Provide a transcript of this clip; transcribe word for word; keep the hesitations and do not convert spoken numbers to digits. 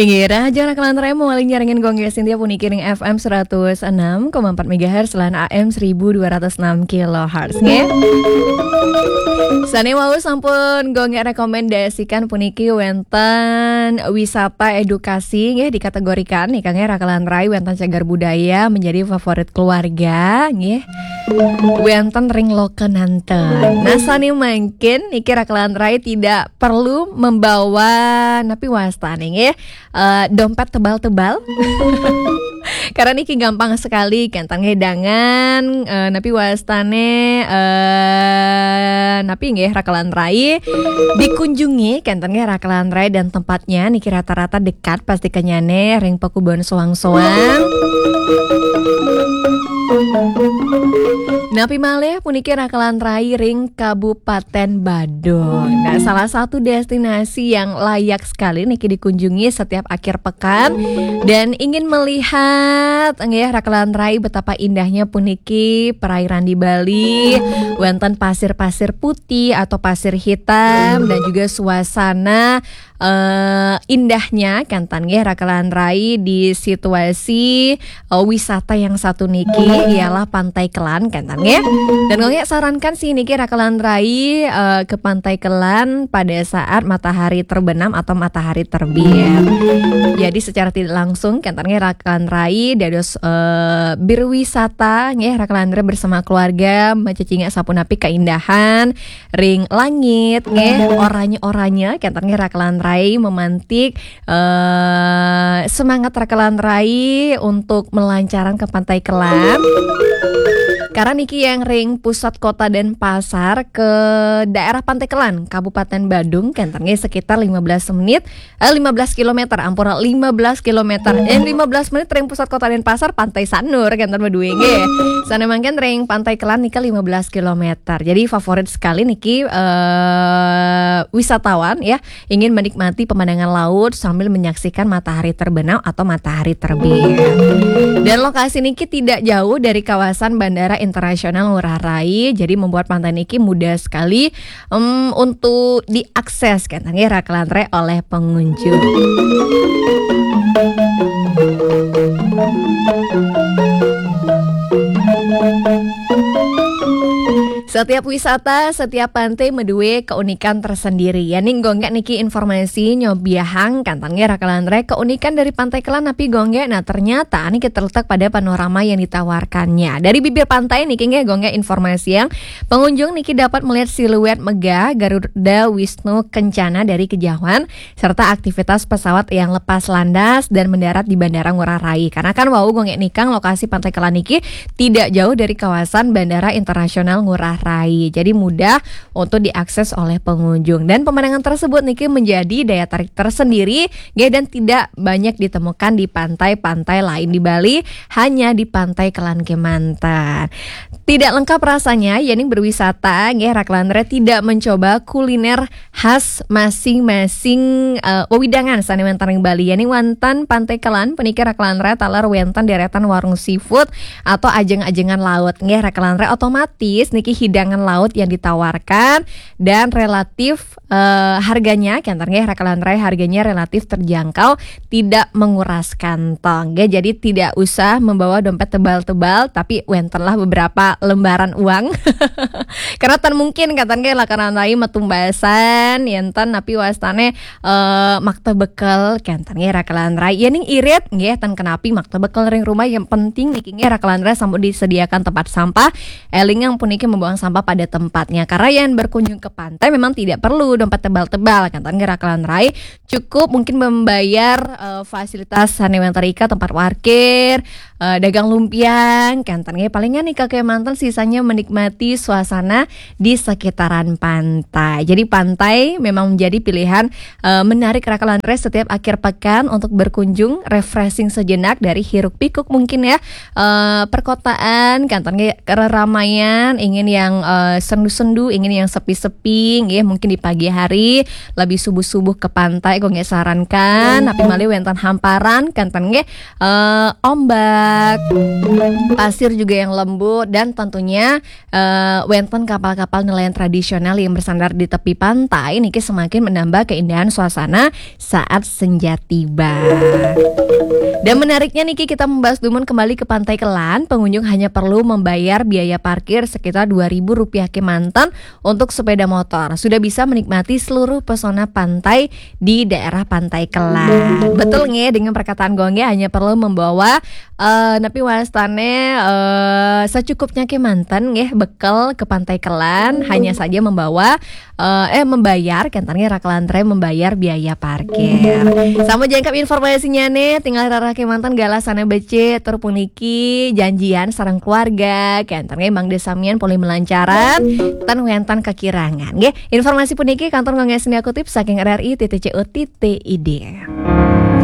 Inggih, rahajeng raka lan rai, malih nyarengin Gung Gek Sintia puniki ring F M seratus enam koma empat megahertz lan A M seribu dua ratus enam kilohertz, nggih. Sane wau sampun Gung Gek rekomendasikan puniki wenten wisata edukasi, nggih, dikategorikan nika, nggih, raka lan rai, wenten cagar budaya menjadi favorit keluarga, nggih. Wenten ring Lokananta. Nah, sane mangkin niki raka lan rai tidak perlu membawa napi wastane, nggih, eh, dompet tebal-tebal. Karena niki gampang sekali, kenten ngedangan, eh, napi wastane, eh, napi nggih raka lan rai dikunjungi, kenten nggih raka lan rai, dan tempatnya niki rata-rata dekat pasti kenyane ring Pakubunan Soang-Soang. Napi malih puniki raka lan rai ring Kabupaten Badung. Nah, salah satu destinasi yang layak sekali niki dikunjungi setiap akhir pekan dan ingin melihat, nggih, raka lan rai, betapa indahnya puniki perairan di Bali, wenten pasir-pasir putih atau pasir hitam dan juga suasana eh, indahnya, kenten nggih raka lan rai, di situasi, eh, wisata yang satu niki ialah Pantai Kelan, kenten nggih. Dan Gung Gek sarankan sih niki raka lan rai, eh, ke Pantai Kelan pada saat matahari terbenam atau matahari terbit. Jadi secara tidak langsung, kenten nggih raka lan rai dados, eh, berwisata nggih raka lan rai bersama keluarga, macecingak sapunapi keindahan ring langit, nggih, oranye-oranye, kenten nggih raka lan rai, memantik, eh, semangat raka lan rai untuk melancarang ke Pantai Kelan. Karena niki yang ring pusat kota Denpasar ke daerah Pantai Kelan, Kabupaten Badung, kenten nggih sekitar lima belas menit, eh, lima belas kilometer, ampura, lima belas kilometer. Eh, lima belas menit ring pusat kota Denpasar, Pantai Sanur, kenten madue nggih. Sane mangkin ring Pantai Kelan nika lima belas kilometer. Jadi favorit sekali niki, eh, wisatawan, ya, ingin menikmati pemandangan laut sambil menyaksikan matahari terbenam atau matahari terbit. Dan lokasi niki tidak jauh dari kawasan Bandara Internasional Ngurah Rai, jadi membuat pantai niki mudah sekali, em, untuk diakses, kenten nggih raka lan rai, oleh pengunjung. Setiap wisata, setiap pantai madue keunikan tersendiri. Yening Gung Gek niki informasi nyobiahang, kenten nggih raka lan rai, keunikan dari Pantai Kelan napi, Gung Gek? Nah, ternyata niki terletak pada panorama yang ditawarkannya. Dari bibir pantai niki nggih, Gung Gek, informasi yang pengunjung niki dapat melihat siluet megah Garuda Wisnu Kencana dari kejauhan serta aktivitas pesawat yang lepas landas dan mendarat di Bandara Ngurah Rai. Karena kan wau, Gung Gek, nikang lokasi Pantai Kelan niki tidak jauh dari kawasan Bandara Internasional Ngurah Rai. Jadi mudah untuk diakses oleh pengunjung. Dan pemandangan tersebut niki menjadi daya tarik tersendiri, nggih, dan tidak banyak ditemukan di pantai-pantai lain di Bali, hanya di Pantai Kelan kemanten. Tidak lengkap rasanya yening berwisata, nggih, raka lan rai, tidak mencoba kuliner khas masing-masing, eh, wewidangan sane wenten ring Bali. Yening wenten Pantai Kelan puniki raka lan rai, taler wenten deretan warung seafood atau ajeng-ajengan laut, nggih, raka lan rai, otomatis niki hidangan laut yang ditawarkan dan relatif, eh, harganya, kenten nggih raka lan rai, harganya relatif terjangkau, tidak menguras kantong, nggih. Jadi tidak usah membawa dompet tebal-tebal, tapi wentenlah beberapa lembaran uang. Karena tan mungkin, kenten nggih, raka lan rai, metu mbasan yen ten napi wastane, eh, makta bekel, kenten nggih raka lan rai. Yening irit, nggih, tan kenapi makta bekel ring rumah, yang penting niki nggih raka lan rai sampun disediakan tempat sampah. Elingang puniki membuang sampah pada tempatnya. Karena yang berkunjung ke pantai memang tidak perlu dompet tebal-tebal, kenten nggih raka lan rai. Cukup mungkin membayar, eh, fasilitas sane wenten rika, tempat parkir, eh, dagang lumpia, kenten nggih, palingan nika kemanten, sisanya menikmati suasana di sekitaran pantai. Jadi pantai memang menjadi pilihan, eh, menarik raka lan rai setiap akhir pekan untuk berkunjung, refreshing sejenak dari hiruk pikuk mungkin, ya, eh, perkotaan, kenten nggih, keramaian, ingin yang, eh, sendu-sendu, ingin yang sepi-sepi, nggih, mungkin di pagi hari, lebih subuh-subuh ke pantai, Gung Gek sarankan, napi malih wenten hamparan, kenten nggih, eh, ombak, pasir juga yang lembut, dan tentunya eh, wénten kapal-kapal nelayan tradisional yang bersandar di tepi pantai niki semakin menambah keindahan suasana saat senja tiba. Dan menariknya niki, kita membahas dumun kembali ke Pantai Kelan, pengunjung hanya perlu membayar biaya parkir sekitar dua ribu rupiah kémanten untuk sepeda motor. Sudah bisa menikmati seluruh pesona pantai di daerah Pantai Kelan. Betul nggih, dengan perkataan Gong nggih, hanya perlu membawa eh napi wastane eh secukupnya kémanten nggih, bekel ke Pantai Kelan, hanya saja membawa eh, eh membayar, kénten nggih, raka lan tre membayar biaya parkir. Sampun jangkep informasinya nih, tinggal rarah kémanten galah sané becik, tur puniki janjian sareng keluarga, kénten nggih, mangda samian polih melancaran, ten wénten kekirangan nggih. Informasi puniki kantun nggih senia kutip saking R R I titik C O titik I D.